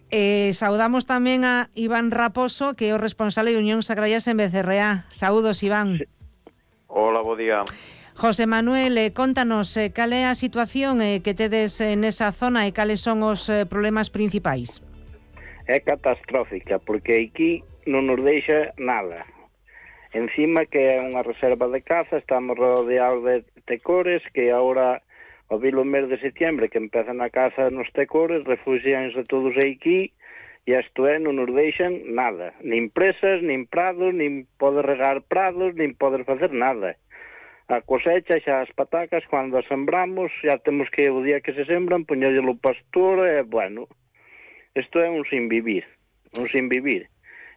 Saudamos tamén a Iván Raposo, que é o responsable de Unións Agrarias en Becerreá. Saúdos, Iván. Sí. Hola, bo día. José Manuel, contanos cal é a situación que tedes nesa zona e cales son os problemas principais. É catastrófica, porque aquí non nos deixa nada. Encima que é unha reserva de caza, estamos rodeados de tecores que agora, ao vir o mes de setembro, que empezan a caza nos tecores, refugianse todos aquí, e isto é, non nos deixan nada. Nin presas, nin prados, nin poder regar prados, nin poder facer nada. A cosecha xa as patacas, cando as sembramos, xa temos que o día que se sembran, poñerlo o pastor, e, bueno, isto é un sin vivir, un sin vivir.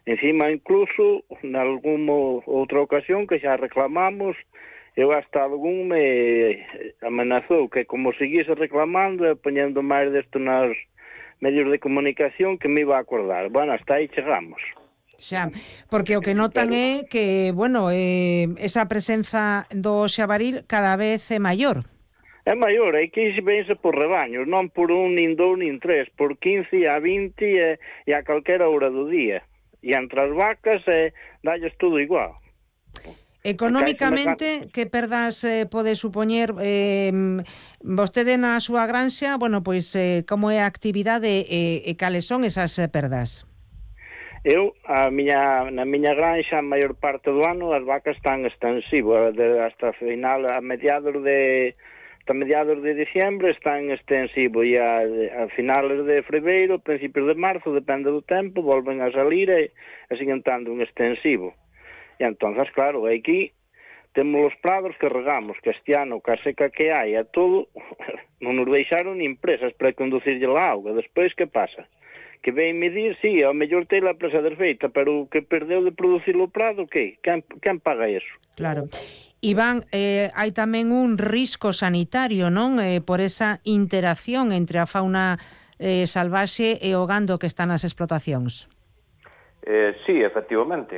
Encima, incluso, en alguna outra ocasión que xa reclamamos, eu hasta algún me amenazou que como seguise reclamando e poñendo máis desto nos medios de comunicación que me iba a acordar. Bueno, hasta aí chegamos. Xa, porque o que notan é que, bueno, esa presenza do xabaril cada vez é maior. É maior, é que vense por rebaños, non por un, nin dous, nin tres, por 15 a 20 e a calquera hora do día. E entre as vacas dalles todo igual. Económicamente, que perdas pode supoñer vostede na súa granxa, bueno, pois como é a actividade e cales son esas perdas? Eu, na miña granxa, a maior parte do ano, as vacas están extensivas, hasta final, a mediados de diciembre están extensivos, e a finales de febreiro, principios de marzo, depende do tempo, volven a salir e siguen estando un extensivo. E entonces, claro, aquí temos os prados que regamos, que este ano, que a seca que hai, a todo, non nos deixaron nin presas para conducirlle a auga. Despois, que pasa? Que ven medir, sí, ao mellor ten a presa desfeita, pero o que perdeu de producir o prado, que? Quen paga eso? Claro. Iván, hai tamén un risco sanitario, non? Por esa interacción entre a fauna salvaxe e o gando que está nas explotacións. Sí, efectivamente,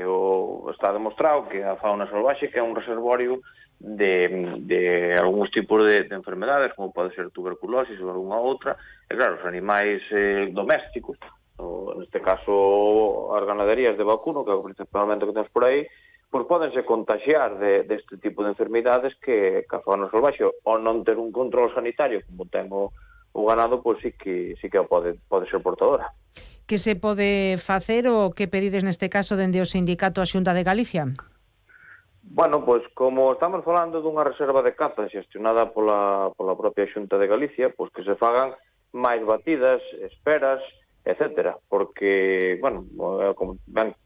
está demostrado que a fauna salvaxe que é un reservorio de algúns tipos de enfermedades, como pode ser tuberculosis ou alguna outra, e claro, os animais domésticos, neste caso as ganaderías de vacuno, que é principalmente que temos por aí, pois podense contagiar deste tipo de enfermidades que a fauna salvaxe, ou non ter un control sanitario como ten o ganado, pois sí que pode ser portadora. Que se pode facer ou que pedides neste caso dende o sindicato a Xunta de Galicia? Bueno, pois como estamos falando dunha reserva de caza xestionada pola propia Xunta de Galicia, pois que se fagan máis batidas, esperas, etcétera, porque, bueno,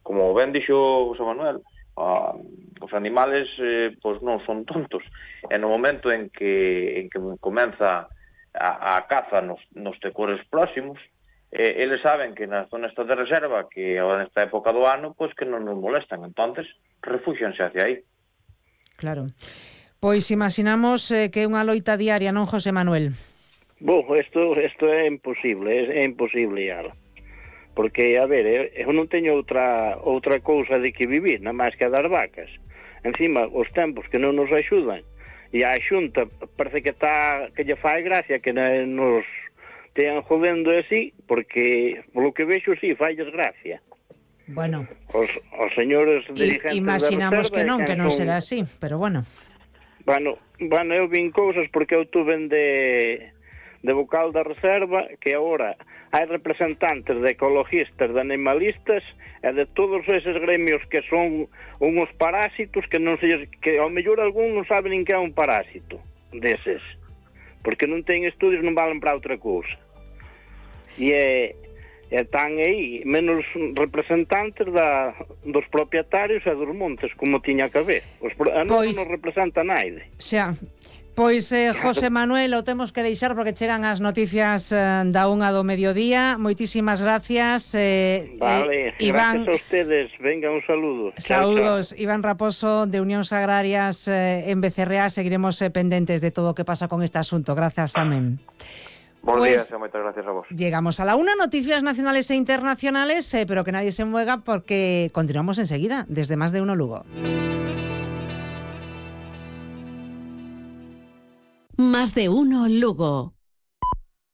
como ben dixo José Manuel, os animales pois non son tontos, e no momento en que comeza a caza nos tecores próximos, eles saben que na zona esta de reserva, que agora nesta época do ano, pois que non nos molestan, entonces refúxianse hacia aí. Claro. Pois imaginamos que é unha loita diaria, non, José Manuel? Isto é imposible, é imposible, Yara. Porque, a ver, eu non teño outra cousa de que vivir, nada máis que a das vacas. Encima, os tempos que non nos axudan, e a Xunta parece que lle fai gracia que nos tean jodendo así, porque, polo que vexo, sí, failles gracia. Bueno, os señores dirigentes imaginamos da reserva, que non será así, pero bueno. Bueno, eu vin cousas porque eu tuve de vocal da reserva, que agora hai representantes de ecologistas, de animalistas e de todos eses gremios que son unhos parásitos que ao mellor algún non sabe nin que é un parásito deses, porque non ten estudios, non valen para outra cousa. E están aí menos representantes dos propietarios e dos montes, como tiña que haber. Non nos representa naide. Xa, pois, José Manuel, o temos que deixar porque chegan as noticias da 1 do mediodía. Moitísimas gracias. Vale, Iván, gracias a ustedes. Venga, un saludo. Saúdos, chao. Iván Raposo, de Unións Agrarias en Becerreá. Seguiremos pendentes de todo o que pasa con este asunto. Gracias tamén. Buenos días, moitas gracias a vos. Llegamos a la 1, noticias nacionales e internacionales, pero que nadie se mueva porque continuamos enseguida, desde Más de Uno Lugo. Más de Uno Lugo.